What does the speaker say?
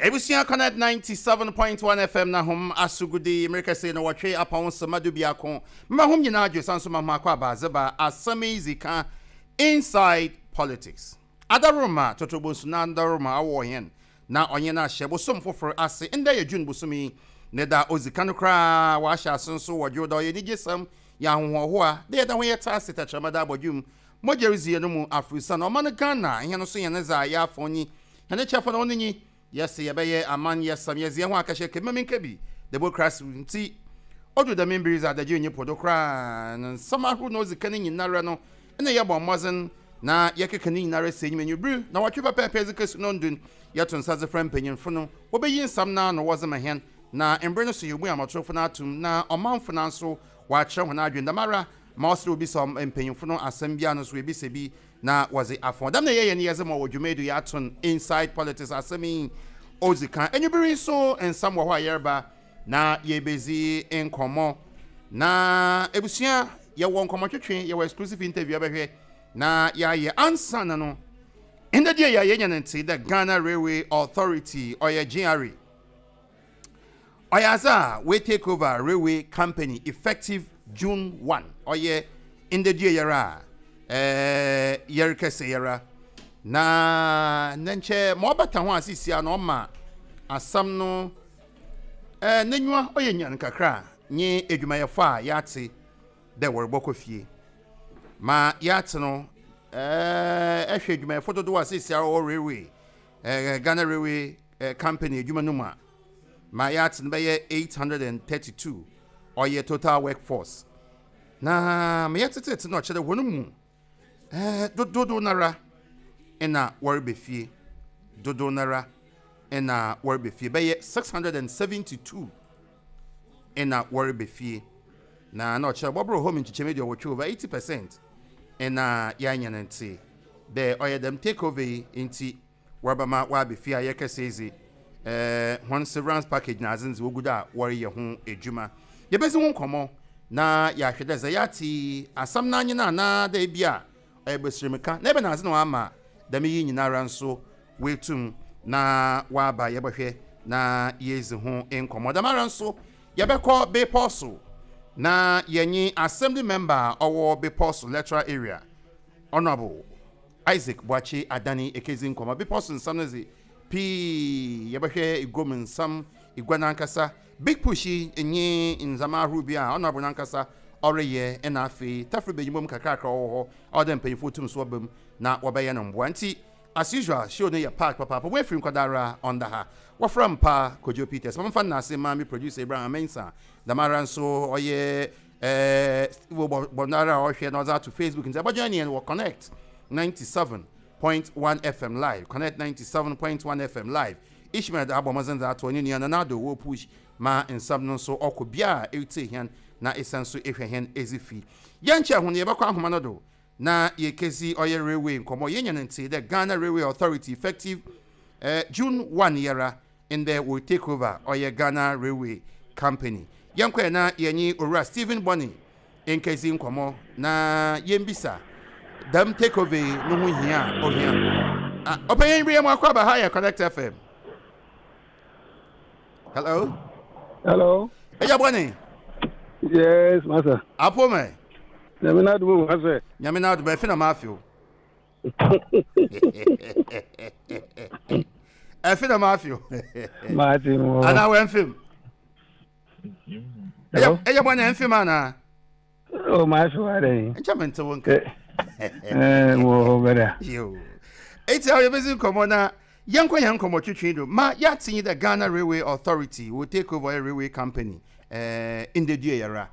Ebusua Connect 97.1 FM na hom asogudi mrekɛse no wɔtwe apɔn sema dubiako mema hom nyinaa adwo san so ma hom akɔ aba adze ba asɛm yi dzi ka Inside Politics. Adaworoma Totorobonsu na Adaworoma awɔ hɛn na ɔnye no ahyɛ bosom fofor ase. Ndɛ yɛ June bosoom yi ne da a odzi kan koraa. Wɔahyɛ ase nso wɔ Dwowda. Ɔyɛ enigyesɛm, yɛ ahohoahoa dɛ yɛda ho yɛtse ase tɛkyerɛma da abɔdwem mogya ridzi hɛn mu aforsian. Ɔman Ghana, hɛn so hɛn dza yɛafɔn nyi, hɛn kyɛfa na ɔno nye yɛse yɛbɛyɛ aman yɛsam yɛdze hɛnho akɛhyɛ kebima menka bi democracy ntsi odu dɛm mber yi dze adagyer nnyi po do koraa na nsɛm ahorow na odzi kan nyinara no nna yɛbɔ mbɔdzen na yɛkeka ne nyinara si enyim ewimbir naawɔtwe pɛpɛɛpɛ dze kesi no yɛto nsa dze frɛ mpanyimfo no wobeyi nsɛm no ano wɔdze ma hɛn na mber no so yebue amatorfo no atom na ɔmanfo no nso wɔakyerɛ hɔn adwen. Dɛmara ma ɔsɛ dɛ obisa mpanyimfo no asɛm biara no so woebisa bi na wɔdze afɔn. Dɛm na yɛyɛ no yɛdze ma wɔ dwumadi yɛato no Inside Politics asɛm yi odzi kan. Ewimbir yi so nsɛm wɔ hɔ a yɛreba na yebedzi nkɔmbɔ. Na ebusua yɛwɔ nkɔmbɔtwetwe, yɛwɔ exclusive interview abɛhwɛ na yɛayɛ. Ansaana no, ndɛ deɛ yɛ yɛnya no ntsee dɛ Ghana Railway Authority ɔyɛ GRA ɔyɛ adze a we take over railway company effective June 1 ɔyɛ ndɛ dua yɛra a yɛrekɛsɛ yɛra na ne nkyɛ ma ɔbata ho a sisia na ɔma asɛm no n'enyiwa ɔyɛ nyan kakra nye edwumayɛfo a yɛatse dɛ wɔrebɔkɔ fie ma yɛatse no ɛhwɛ edwumayɛfo dodow a sisia wɔwɔ railway Ghana Railway Company edwuma no mu a ma yɛatse no bɛyɛ 832 ɔyɛ total workforce na ma yɛtsetseetse no ɔkyerɛ dɛ hɔn mu dodow noara na wɔreba fie, dodow noara na wɔreba fie, bɛyɛ 672 na wɔreba fie, na na ɔkyerɛ bɔbor hɔ mu nkyekyɛmu 80 over 80% na yɛanya no ntse dɛ ɔyɛ dɛm takeover yi ntsi wɔrebɛma wɔaba fie a yɛrekɛsɛ yi dze, hɔn severance package na adze no dze wogu do a wɔreyɛ ho edwuma. Yebedzi ho nkɔmbɔ na yɛahwɛ dɛ dza yɛatse yi, asɛm no nye no anaa dɛ bi a ɔyɛ basirmka na ebɛnadze na ɔama dɛm yi nyinara so woetum na wɔaba. Yɛbɔhwɛ na yeedzi ho nkɔmbɔ. Dɛmara so yɛbɛkɔ Bepɔw so na yɛnye Assembly member a ɔwɔ Bepɔw so Electoral Area, Honourable Isaac Boakye Adani ekedzi nkɔmbɔ. Bepɔw so nsɛm no dze, pii yɛbɛhwɛ eguam nsɛm, egua nankasa, Big Push yi nye ndzɛmba ahorow bi a Honourable nankasa ɔreyɛ na afei tafir benyin mu kakrakra ɔwɔ hɔ a ɔwɔ dɛ mpanyimfo tum so wɔba mu na wɔbɛyɛ no mboa. Ntsi as usual show no yɛ packed papaapa. Woefir nkɔda ara ɔnnda ha. Wɔfrɛ me paa Kojo Peters. Ma memfa nnaase mma me producer Abraham Mensah. Dɛmara so ɔyɛ Steve Bɔnara a ɔhwɛ na ɔdze ato Facebook ntsi ebɔjoin hɛn wɔ Connect 97.1 FM live, Connect 97.1 FM live. Ishmael dze abɔ mbɔdzen dze ato ɔnye nua Nana Addo wɔ push ma nsɛm no nso ɔkɔ bea a eretsie hɛn na esan so ehwɛ hɛn edzifi. Yɛnnkyɛr ho no yɛbɛkɔ ahoma no do na yekedzi ɔyɛ railway nkɔmbɔ. Yenya no ntsee dɛ Ghana Railway Authority effective June 1 yɛra ndɛ wɔ take over ɔyɛ Ghana Railway Company. Yɛnkɔ ɛ na yɛnye Owura Stephen Bonney nkedzi nkɔmbɔ na yembisa dɛm take over yi no ho hia a ohia. Ɔpanyin bi yɛ mo akɔ aba ha yɛ Connect FM. Hello. Hello. Eya Bonney. Yes, master. Apo me. Nyame na adumo wa sɛ. Nyame na adumo efi na ma afio. Efi na ma afio. Maati mo. Ana wɛn fim. Hello. Eya Bonney mfim ana. Oh, ma afio wa dɛ. Nkyɛ me nte wo nka. Eh, mo bɛda. Yo. Eti a yɛbɛzi nkɔmmɔ na yɛnkɔ yɛn nkɔmmɔ twetwe do ma yɛate yi dɛ Ghana Railway Authority will take over a railway company ndɛ dua yɛra.